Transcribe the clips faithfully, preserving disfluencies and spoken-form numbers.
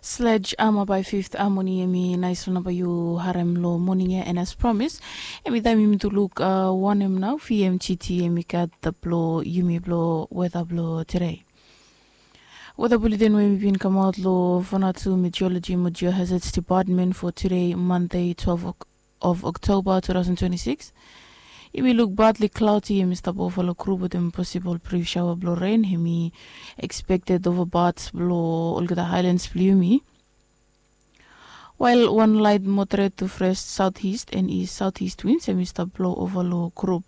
Sledge ama bai fifth amoni emi nais long namba yu harem long moning ya, and as promise emi taim yumi tu luk wanem nau vmgt emi gat blo yumi blo weta blo today. Weta bulletin we emi bin kamaot long vanatu meteorology mo geohazards department for today, Monday, twelve of October two thousand twenty-six. Yumi luk badli klauti emi stap ova long grup wetem posibol brif shaoa blong ren emi expected ova bats blong olgeta hailens blong yumi. Wael wan lait moderet tu fres saut ist en ist saut ist wins emi stap blong ova long grup.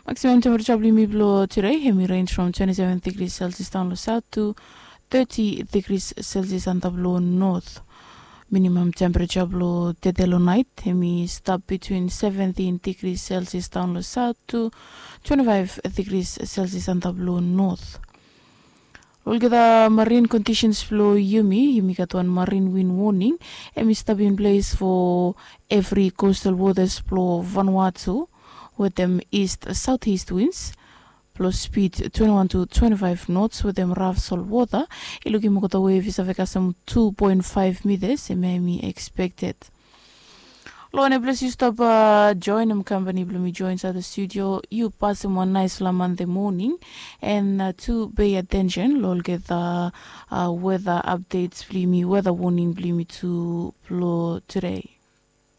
Maksimam tempereja blong yumi blong today emi renj from twenty seven degrees celsius daon long saut tu thirty degrees celsius antap long north. Minimam tempereja blong tede long nait emi stap bitwin seventin degrees celsius daon long saut tu twenty five degrees celsius antap long north. Olgeta marin kondisens blong yumi yumi gat wan marin win woning emi stap in ples fo evri kostal wotas blong vanua tu, wetem ist saut ist wins blong spid twenty one tu twenty five nots wetem raf sol wota. I lukim olgeta we visa vekasem two point five mitas emi emi expected. Long wane ples yu stap joenem kampani blong mi joe insaed long studio, yu pasem wan naispela mande moning. En tu pei atensen long olgeta weta apdets blong yumi, weta woning blong yumi tu blong tude.